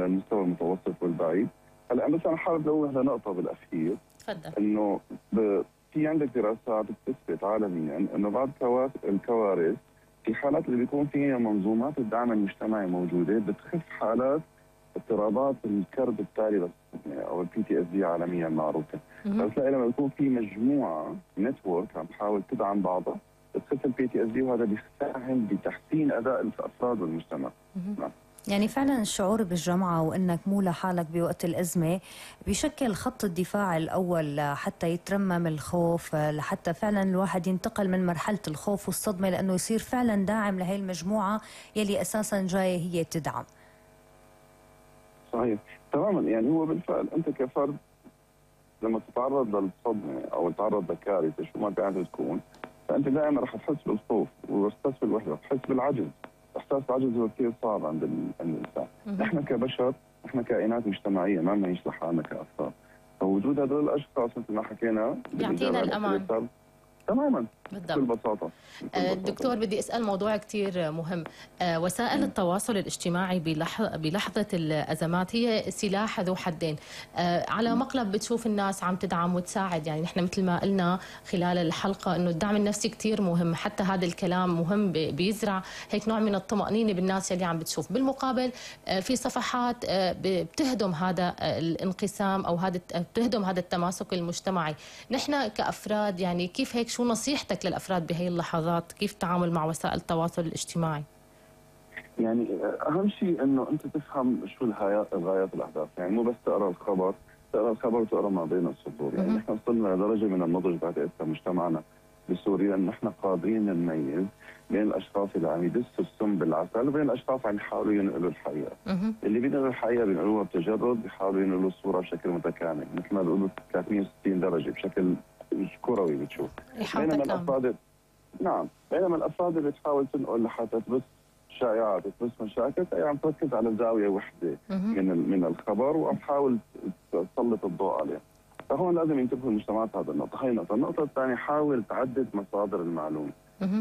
المستوى المتوسط والبعيد. هلا بس انا حابب انوه لنقطه بالاخير. تفضل. انه في عندك دراسات بتثبت عالميا انه بعض الكوارث في حالات اللي بيكون فيها منظومات الدعم المجتمعي موجوده بتخف حالات اضطرابات الكرب التالي او البي تي اس دي عالميا معروفه. بتلاقي لما يكون في مجموعه نتورك عم تحاول تدعم بعضها بتخف البي تي اس دي، وهذا بيساهم بتحسين اداء الافراد والمجتمع. يعني فعلا الشعور بالجمعة وأنك مو لحالك بوقت الأزمة بيشكل خط الدفاع الأول حتى يترمم الخوف، لحتى فعلا الواحد ينتقل من مرحلة الخوف والصدمة لأنه يصير فعلا داعم لهي المجموعة يلي أساسا جاية هي تدعم. صحيح تماما. يعني هو بالفعل أنت كفرد لما تتعرض للصدمة أو تتعرض لكارثة شو ما كانت تكون، فأنت دائما رح تحس بالخوف وتحس بالوحدة، تحس بالعجز. احساس العجز هو كثير صعب عند الانسان. نحن كبشر، نحن كائنات مجتمعيه ما بنعيش لحالنا كافراد، فوجود هذول الاشخاص مثل ما حكينا بيعطينا الامان تماما. بالضبط. بكل بساطه. دكتور بدي اسال موضوع كثير مهم. وسائل التواصل الاجتماعي بلحظه الازمات هي سلاح ذو حدين. على مقلب بتشوف الناس عم تدعم وتساعد، يعني نحن مثل ما قلنا خلال الحلقه انه الدعم النفسي كثير مهم، حتى هذا الكلام مهم بيزرع هيك نوع من الطمانينه بالناس اللي عم بتشوف. بالمقابل في صفحات بتهدم هذا الانقسام او بتهدم هذا التماسك المجتمعي. نحن كافراد يعني كيف هيك، شو نصيحتك للأفراد بهي اللحظات؟ كيف التعامل مع وسائل التواصل الاجتماعي؟ يعني أهم شيء إنه أنت تفهم شو الغايات والأهداف، يعني مو بس تقرأ الخبر وتقرأ ما بين السطور. يعني نحن وصلنا لدرجة من النضج بعد مجتمعنا بسوريا إن نحن قادرين نميز بين الأشخاص اللي عم يدسوا السم بالعسل وبين الأشخاص عم يحاولوا ينقلوا الحقيقة. اللي بينقلوا الحقيقة بينقلوها بتجرد، بيحاولوا ينقلوا الصورة بشكل متكامل، مثل ما بيقولوا 360 درجة بشكل كروي بتشوف. بينما الافراد بينما الافراد اللي بتحاول تنقل لحتى تبث شائعات وتبث مشاكل هي عم تركز على زاويه وحده من الخبر وعم تحاول تسلط الضوء عليه. فهون لازم ينتبهوا المجتمعات هذا النقطه. هي النقطه. النقطه الثانيه، حاول تعدد مصادر المعلومه.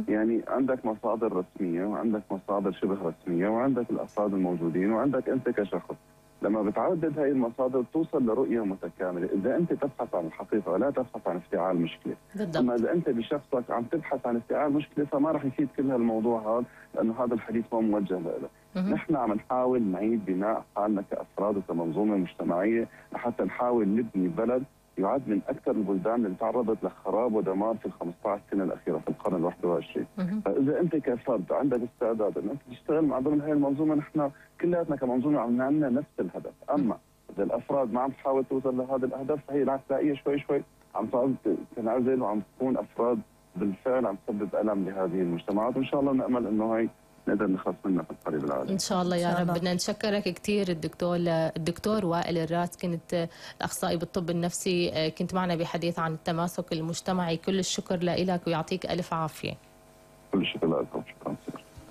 يعني عندك مصادر رسميه وعندك مصادر شبه رسميه وعندك الافراد الموجودين وعندك انت كشخص. لما بتعدد هاي المصادر توصل لرؤية متكاملة. إذا أنت تبحث عن الحقيقة ولا تبحث عن افتعال مشكلة. أما إذا أنت بشخصك عم تبحث عن افتعال مشكلة فما رح يفيد كل هالموضوع هذا، لأنه هذا الحديث ما موجه له. نحن عم نحاول نعيد بناء حالنا كأفراد وكمنظومة مجتمعية لحتى نحاول نبني بلد يعد من أكثر البلدان اللي تعرضت لخراب ودمار في ال 15 سنة الأخيرة في القرن ال 21. فإذا أنت كفرد عندك استعداد أن أنت تشتغل مع ضمن هذه المنظومة، نحن كلياتنا كمنظومة عم نعمل نفس الهدف. أما إذا الأفراد ما عم تحاول توصل لهذا الأهداف فهي رح تلاقيها شوي شوي عم تنعزل وعم تكون أفراد بالفعل عم تسبب ألم لهذه المجتمعات، وإن شاء الله نأمل إنه هي نقدر نخلص منها في القريب العاجل. ان شاء الله يا رب. بدنا نشكرك كثير الدكتور وائل الراس، كنت الاخصائي بالطب النفسي، كنت معنا بحديث عن التماسك المجتمعي. كل الشكر لك ويعطيك الف عافيه. كل الشكر لكم.